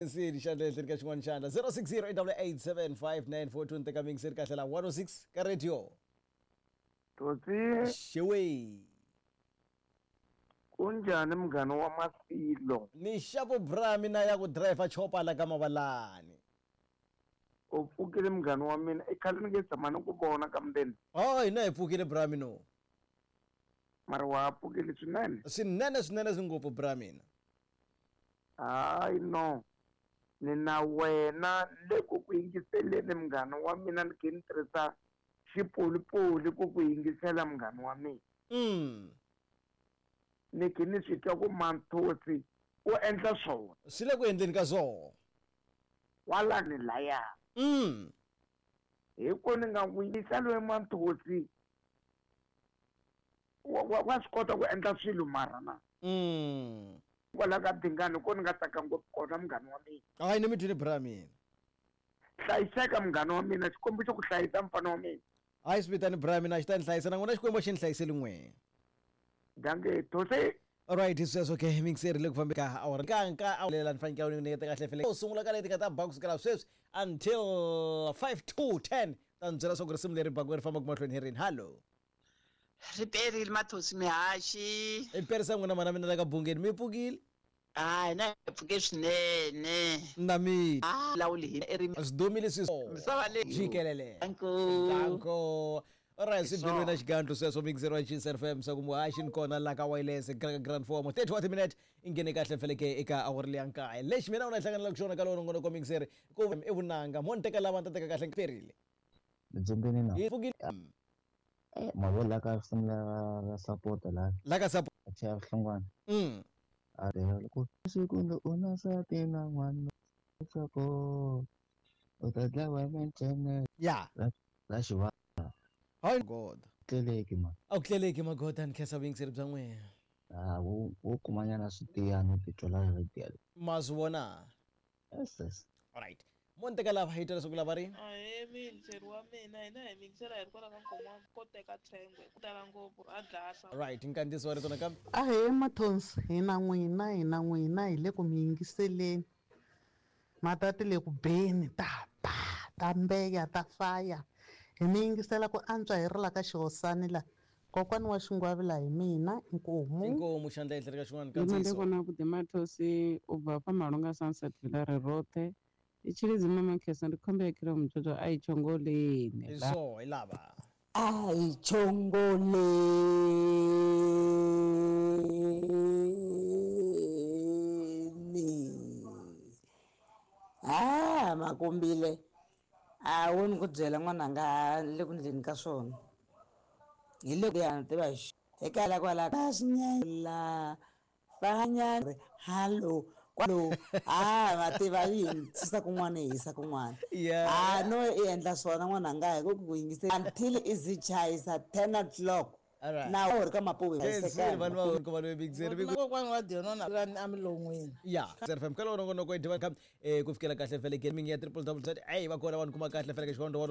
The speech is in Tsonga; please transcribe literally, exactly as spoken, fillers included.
Sini xandla ehenhleni ka xin'wana xandla zero six zero eight double eight seven five nine four two ni teka mingiseri kahle la one oh six ka radio. Totsi. Xewe. Kunjhani munghana wa Masilo? Ni xavo bra mina ya ku driver chopa la ka Mavalani. U pfukile munghana wa mina, i khale ni nge tshama ni ku vona kambeni. Oh, hina hi pfukile bra mina. Mara wa pfukile swinene. Swinene swinene swi ngopfu bra mina. Hayi no. Ni na wena le ku ku yingiseleni munghana wa mina ni khe ni tirhisa xipolipoli ku ku yingisela munghana wa mina. Mm. Ni khe ni swi twa ku Manthosi u endla swona. Swi le ku endleni ka swona. Kwalani laya. Mm. Hi ku ni nga n'wi yisa loyi Manthosi wa, wa, wa swi kota ku endla swilo mara na. Mm. Kwala ka Dingani ko ni nga tsaka ngopfu kona munghana wa mina. Hayi ni mi twile bra mina. Hlayiseka munghana wa mina, Xikwembu xi ku hlayisa mfana wa mina. Hayi swi vitani bra mina, xi ta ni hlayisa na n'wina Xikwembu xi ni hlayiseli n'wina. Danke Thosi. Alright, sweswo ke mingiseri le ku fambe ka awara ka nka awulela ni fanekele ni nyiketa kahle fele. U sungula ka leti ka ta ba kusukela sweswi until five to ten. Ta ni byela swa ku risimu leri baku ri fambaka mahlweni hi rini. Hello. Ri perile Mathosi mihaxi. I perisa n'wina mana mina la ka Bungeni mi pfukile? Hayi na hi pfuke swinene. Na mina. Ah, lawuli hi ri swi dumile swi misava leyi. Jikelele. Danko. Danko. Alright, swi beliwe na xigandlo sweswo mixer wa G S F M swa ku muhaxi ni kona la ka wireless grand form thirty minutes i nghene kahle feleke eka awara leya nkaye. Lexi mina u na hlanganela ku xona ka lona ngonoko mixer ku i vunanga mo ni teka lava ni ta teka kahle perile. Ndzi na. Hi pfukile. Eh, mavola ka risimu la ra support la. La ka support. Chaya Hlongwane. Mm. A re loko siku u na nsati na n'wana support. U ta dlawa mintshene. Ya. La xiva. Hayi God. Tleleki ma. A ku tleleki magoda ni khensa vuyingiseri bya n'wina. Ah, wo wo kumanyana switiyana titwa la radio. Ma swi vona? Yes, yes. All right. Mo ni teka lava hi twa leswaku lava ri? Ahee muyingiseri wa mina, hina hi miyingisela hi ri kwala ka Nkomo ko teka thengwe ku tala ngopfu a dlasa. Right, nkandziyiso wa rito nakambe. Ahee Mathonsi, hina n'wina hina n'wina hi le ku mi yingiseleni. Matati le ku beni ta ba ta mbeya ta faya. Hi mi yingisela ku antswa hi ri la ka Xihosani la. Kokwani wa Xingwavi la hi mina Inkomu. Inkomu xandla ehenhla ka xin'wana Mina ndi nkandziyiso. vona vhuḓi Mathosi u bva fha Malunga Sunset Villa ri roṱhe. I tshilidzi mama Khesa ndi khombo ya khilo mutshotsho a i tshongoleni Hi swo hi lava. A hi tshongoleni. Ah, Makumbile. A wu ni ku byela n'wananga le ku ndleni ka swona. Hi le ku ya tiva xi. Eka la kwala ka xinyela. Fanya hello kwalo. Ah, mativa yini tshisa kun'wana hi yisa kun'wana. Yeah. Ah, no i endla swona n'wananga hi ku ku yingise until izi chayisa ten o'clock. All right. Na u ri ka mapuwe Yes, vanhu va ku vanhu big zero big. Kokwani wa Dionona a milon'wini. Ya, Z F M ka lona ngonoko i diva ka eh ku fikela kahle fele gaming ya triple double Z. Hey, va kona vanhu kuma kahle fele ka xikondho wa